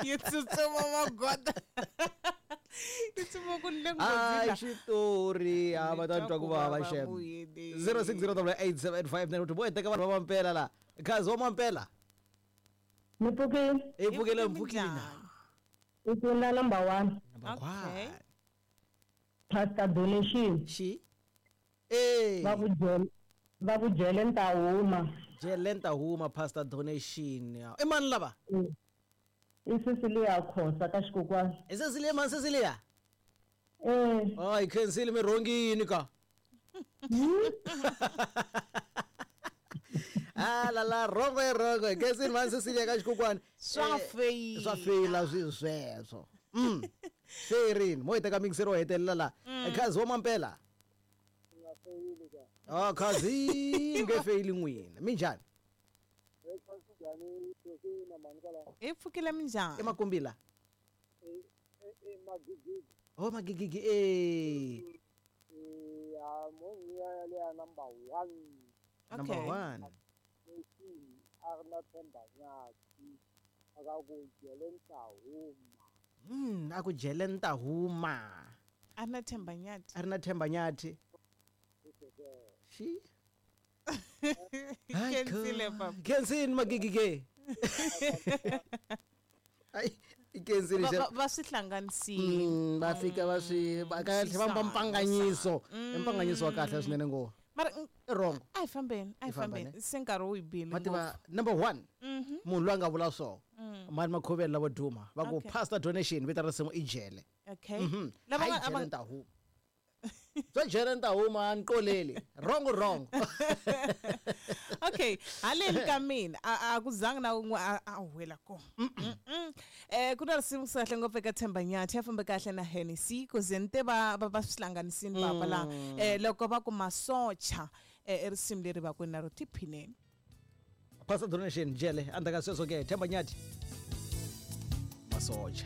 Yi tsutsuma magoda, yi tsutsuma ku le Hayi, nghozini. Xitori a va ta Ni twa ku vava. Vava Xem. vuyeni. 06088759 kuti vo teka vanhu va mampela la khazi wa mampela. Ni pfukile. I pfukile. Hi Mpfukile. minjhani? I pfuna number one. Number Okay. one. Pastor Donation. Xi e Va ku jele, va ku jele ni ta huma. Jele ni ta huma, Pastor Donation. I mani lava? I Cecilia Khosa ka xikokwani. I Cecilia mani, Cecilia? Eh. Hayi, khensile, mi rhongini ka. Ah la la, rongo i rongo. Khensile mani, Cecilia ka xikokwani. Swa Eh, feyila. Swa feyila swi sweswo. Feyerini mo hi teka mixero wo hetelela la. Khazi wa mampela. Ah, khazi nge feyili n'wina, minjhani? Hi pfukile, minjhani? I makumbila oh, magigigi e. Number one. Number Okay. one. A ri na Themba Nyati aka ku jele ni ta huma. A ku jele ni ta huma. A na Themba Nyati. A ri na Themba Nyati. Xi Khensile papa. Khensini magigi ke. Ai, i khensini. Va swi hlanganisile. Va fika va swi va kahle va Swisana, mpanganyiso. I mpanganyiso wa kahle swinene ngo. Mara I wrong. A hi fambeni, a hi Hi famba, fambeni, ne? se nkarhi wu hi bile. Ma tiva number one, munhu loyi a nga vula swo mani makhoveli lavo duma va ku Pastor Donation, vito ra risimu i Jele. Okay. Lava Lava nga- jele ni ta huma, swo jele ni ta huma, a ni qoleli wrong, wrong. Okay, haleni ka mina a ku zangi na un'we a huwela kona. Ku na risimu kahle ngopfu eka Themba Nyathi, ya fambe kahle na Hennessy ku ze ni te va swi hlanganisini papa la. Loko va ku masocha, i risimu leri va ku na ro tiphineni. Pastor Donation, Jele, endzhaku ka sweswo ke Themba Nyati, Masocha.